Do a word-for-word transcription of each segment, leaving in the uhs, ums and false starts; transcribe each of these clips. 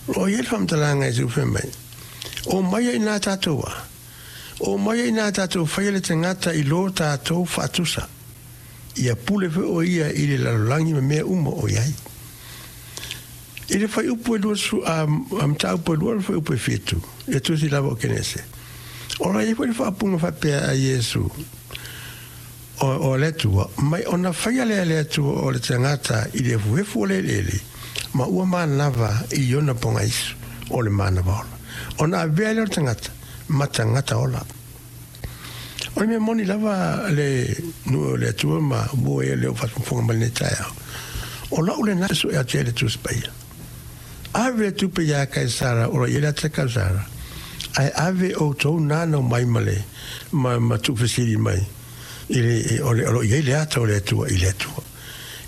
O lo o i ai le faamatalaga Iesu fai mai, O mai ai ina tatou a? O mai ai ina tatou faia le tagata i lo tatou faatusa, ia pule foi o ia i le lalolagi ma mea uma o i ai. I le fuaiupu e luasefulu, a, a mataupu e lua le fuaiupu e fitu, i le tusi lava o Kenese. O lo o i ai foi le faaupuga faapea a Iesu, o, o le Atua, mai ona faia lea e le Atua o le tagata i le efuefu o le eleele, ma ua manava i ona pogaisu o le manava ola, ona avea lea o le tagata ma tagata ola. O le mea moni lava le nuu o le Atua ma uo e le o faafofoga mai lenei taeao. O lau lena sue atu ai le Tusi Paia. Ave le tupe iā Kaisara o lo o i ai le ata Kaisara, ae ave outou nanau mai ma le ma, ma tuufesili mai i le, o, le, o lo o i ai le ata o le Atua i le Atua,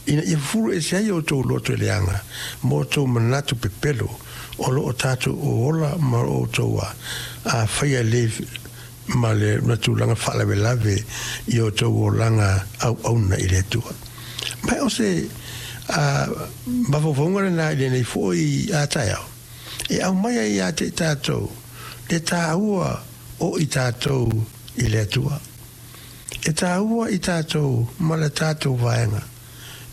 ina ia fufulu ese ai outou loto e leaga ma outou manatu pepelo o lo o tatou ola ma outou a, a faia le ma le ma tulaga faalavelave i outou olaga auauna i le Atua. Ma o se a, mafaufauga lena i lenei foi a taeao e aumai ai ia te i tatou le taua o i tatou i le Atua. E taua i tatou ma le tatou vaega.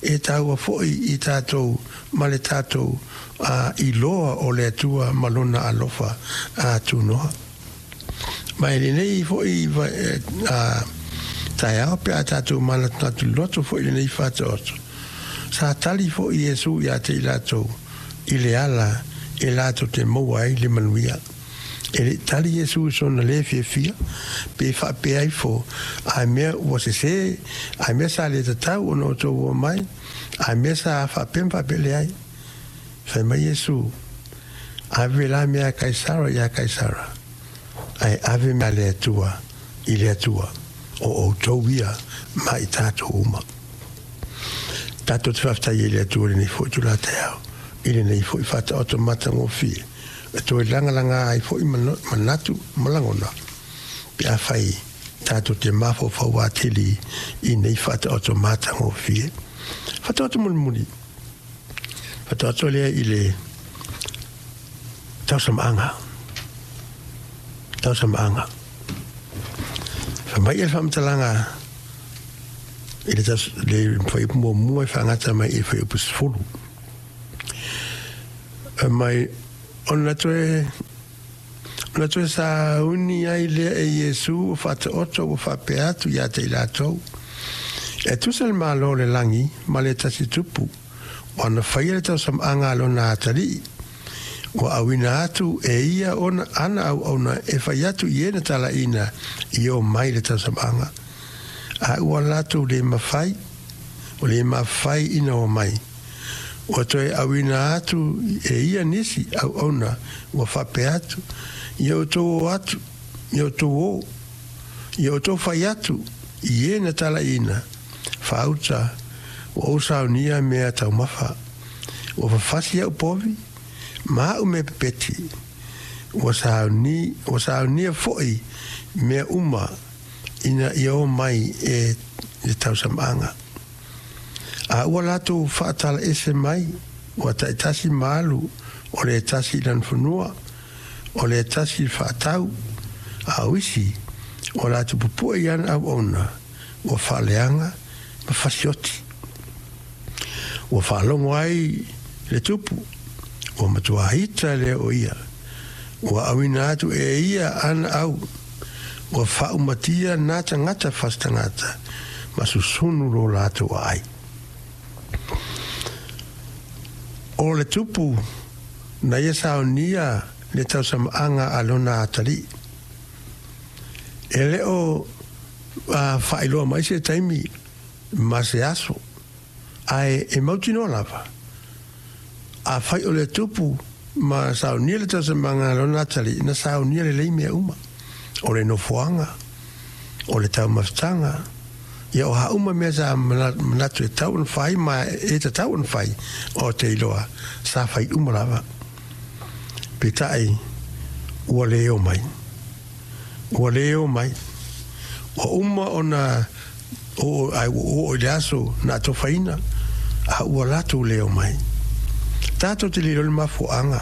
E taua foi i tatou ma le tatou a, iloa o le Atua ma lona alofa a tunoa. Ma i lenei foi a, taeao pe a tatou manatunatu loto foi i lenei faataoto, sa tali foi Iesu ia te i latou i le ala e latou te maua ai le manuia. E le i tali Iesu i sona lē fiafia, pe faapea ifo, A mea ua sesē, a mea sa le tatau ona outou o mai, a mea sa faapea ma faapea, leai. Fai mai Iesu, Ave la mea a Kaisara iā Kaisara, ae ave mea a le Atua i le Atua, o outou ia ma i tatou uma. Tatou te faafetai ai i le Atua i lenei foi itula taeao, i lenei foi faataoto matagofie, e toe lagalaga ai foi manatu ma lagona, pe afai tatou te mafaufau atili i nei faataoto matagofie. Faataoto mulimuli, faataoto lea i le tausamaaga. Tausamaaga. Fai mai le faamatalaga i le, taus, le fuaiupu muamua e faagata mai i le fuaiupu sefulu. Mai ona toe ona toe sauni ai lea e Iesu ua faataoto ua faapea atu ia te i latou, E tusa le Malo o le lagi ma le tasi tupu, ua na faia le tausamaaga a lona atalii, ua auina atu e ia ona ana auauna e fai atu i e na talaiina i o mai le tausamaaga, a ua latou le mafai, ua le mafai ina o mai. Ua toe auina atu e ia nisi auauna ua faapea atu, Ia outou o atu, ia outou o, ia outou fai atu i e na talaiina, faauta, ua ou saunia mea taumafa, ua fafasi au povi, ma au mea pepeti, ua sauni, ua saunia foi mea uma ina ia o mai e le tausamaaga. A ua latou faatala ese mai, ua taitasi ma alu, o le tasi i lana fanua, o le tasi i le faatau, a o isi, ua latou pupue i ana auauna, ua faaleaga ma fasioti. Ua faalogo ai le tupu, ua matua ita lea o ia, ua auina atu e ia ana au, ua faaumatia nā tagata fasi tagata, ma susunu lo latou aai. O le tupu na ia saonia le tausamaaga a lona atalii. E le o faailoa mai se taimi ma se aso, ae e mautinoa lava, afai o le tupu ma saunia le tausamaaga a lona atalii, na saunia lelei mea uma, o le nofoaga, o le taumafataga, ia o a uma mea sa manatu e tatau ona fai ma e tatau ona fai, o te iloa sa fai uma lava. Peitai, ua le o mai. Ua le o mai. Ua uma ona oo, ae ua oo i le aso na atofaina, a ua latou le o mai. Tatou te le iloa le mafuaaga.